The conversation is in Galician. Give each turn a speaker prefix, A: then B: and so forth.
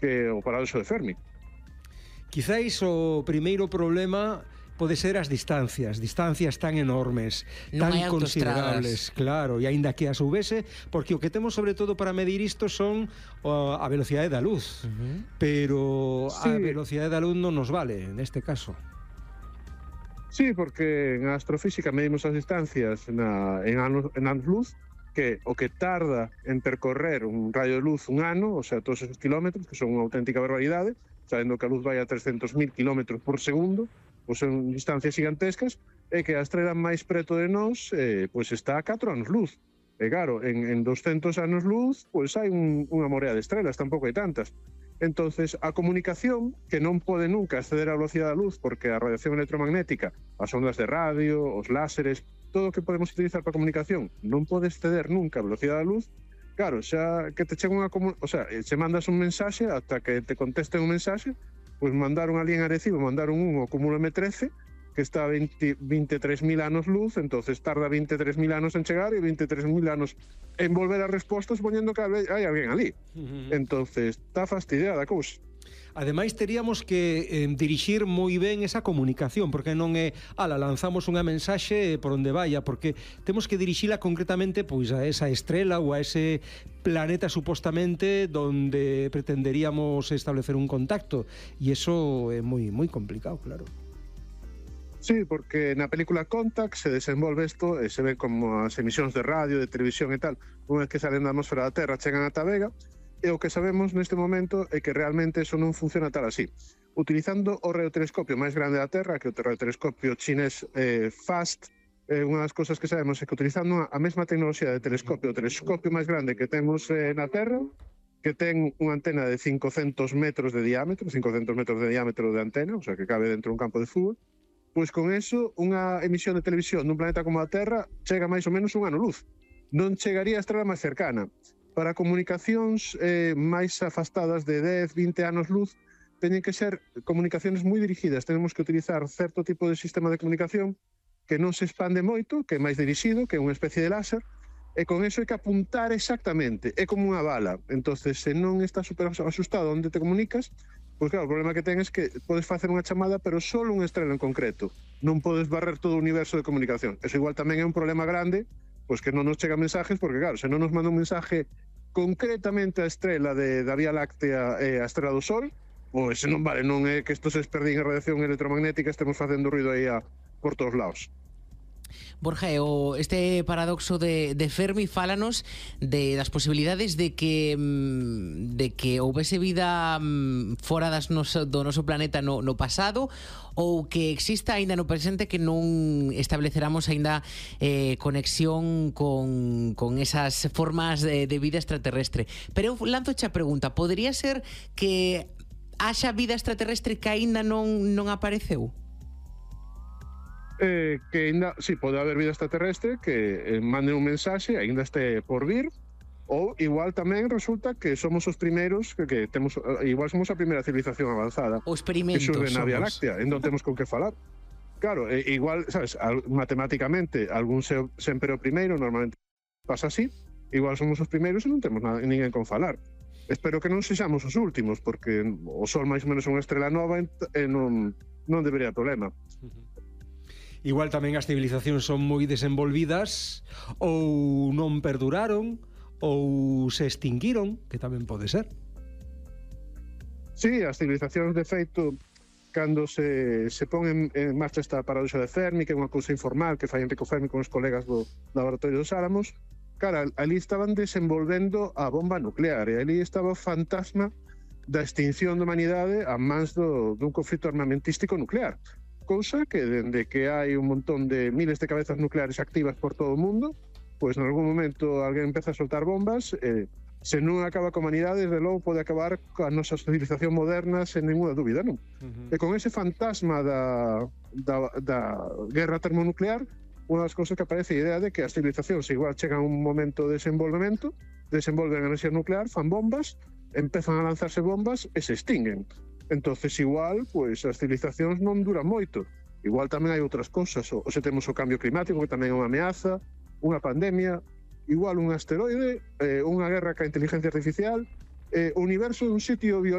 A: que o paradoxo de Fermi.
B: Quizáis o primeiro problema pode ser as distancias tan enormes,
C: Non hai
B: tan considerables,
C: autoestradas.
B: claro, e aínda que as houvese, porque o que temos sobre todo para medir isto son a velocidade da luz, pero a velocidade da luz non nos vale neste caso.
A: Sí, porque en astrofísica medimos as distancias en anos luz, que o que tarda en percorrer un raio de luz un ano, o sea, todos esos kilómetros, que son unha auténtica barbaridade, sabendo que a luz vai a 300.000 kilómetros por segundo, pois son distancias gigantescas, e que a estrela máis preto de nós pois está a 4 anos luz. E claro, en 200 anos luz, pois hai unha morea de estrelas, tampouco hai tantas. Entonces, a comunicación, que non pode nunca exceder a velocidade da luz, porque a radiación electromagnética, as ondas de radio, os láseres, todo o que podemos utilizar para comunicación, non pode exceder nunca a velocidade da luz. Claro, xa que te chega se mandas un mensaxe, ata que te contesten un mensaxe, pois mandaron ali en Arecibo, mandaron un cúmulo M13, que está a 23.000 anos luz, entonces tarda 23.000 anos en chegar e 23.000 anos en volver a respostas poñendo que hai alguén ali. Entonces, está fastidiada a cousa.
B: Ademais, teríamos que dirixir moi ben esa comunicación, porque non é, lanzamos unha mensaxe por onde vaya, porque temos que dirixila concretamente pois a esa estrela ou a ese planeta supostamente donde pretenderíamos establecer un contacto, e iso é moi complicado, claro.
A: Sí, porque na película Contact se desenvolve isto e se ve como as emisións de radio, de televisión e tal, unha vez que salen da atmosfera da Terra chegan ata Vega, e o que sabemos neste momento é que realmente eso non funciona tal así. Utilizando o radiotelescopio máis grande da Terra, que é o radiotelescopio chinés FAST, unha das cousas que sabemos é que utilizando a mesma tecnoloxía de telescopio, o telescopio máis grande que temos na Terra, que ten unha antena de 500 metros de diámetro de antena, o sea, que cabe dentro dun campo de fútbol, pois con eso, unha emisión de televisión dun planeta como a Terra chega máis ou menos un ano luz. Non chegaría a estrela máis cercana. Para comunicacións máis afastadas de 10, 20 anos luz, teñen que ser comunicacións moi dirigidas. Tenemos que utilizar certo tipo de sistema de comunicación que non se expande moito, que é máis dirixido, que é unha especie de láser, e con eso hai que apuntar exactamente. É como unha bala. Entonces, se non está super asustado onde te comunicas, pois claro, o problema que ten é que podes facer unha chamada, pero só unha estrela en concreto. Non podes barrer todo o universo de comunicación. Eso igual tamén é un problema grande, pois que non nos chegan mensajes, porque claro, se non nos manda un mensaje concretamente a estrela da Vía Láctea e a estrela do Sol, pois non vale, non é que isto se esperdín a radiación electromagnética, estemos facendo ruido aí por todos lados.
C: Borja, este paradoxo de Fermi fálanos das posibilidades de que houvese vida fora do noso planeta no pasado, ou que exista aínda no presente que non estableceramos aínda conexión con esas formas de vida extraterrestre. Pero eu lanzoche a pregunta, podría ser que haxa vida extraterrestre que aínda non apareceu?
A: Que ainda, sí, pode haber vida extraterrestre que mande un mensaxe, ainda este por vir, ou igual tamén resulta que somos os primeiros que temos, igual somos a primeira civilización avanzada
C: o experimento
A: que xurre na Vía Láctea, e non temos con que falar. Claro, igual, sabes, matemáticamente algún sempre o primeiro, normalmente pasa así, igual somos os primeiros e non temos ninguén con falar. Espero que non sexamos os últimos, porque o Sol máis ou menos é unha estrela nova e non debería problema.
B: Igual tamén as civilizacións son moi desenvolvidas ou non perduraron ou se extinguiron, que tamén pode ser.
A: Sí, as civilizacións de feito, cando se pon en marcha esta paradoxa de Fermi, que é unha cousa informal que fai Enrico Fermi con os colegas do Laboratorio dos Álamos, cara, ali estaban desenvolvendo a bomba nuclear e ali estaba o fantasma da extinción da humanidade a mans dun conflito armamentístico nuclear. Cousa que, dende que hai un montón de miles de cabezas nucleares activas por todo o mundo, pois en algún momento alguén empeza a soltar bombas, se non acaba coa humanidade, desde logo pode acabar coa nosa civilización moderna sen ninguna dúbida, non? E con ese fantasma da guerra termonuclear, unha das cousas que aparece a idea de que as civilizacións igual chegan a un momento de desenvolvemento, desenvolven enerxía nuclear, fan bombas, empezan a lanzarse bombas e se extinguen. Entonces igual, pois as civilizacións non duran moito. Igual tamén hai outras cousas, ou se temos o cambio climático, que tamén é unha ameaza, unha pandemia, igual un asteroide, unha guerra ca inteligencia artificial, o universo é un sitio violento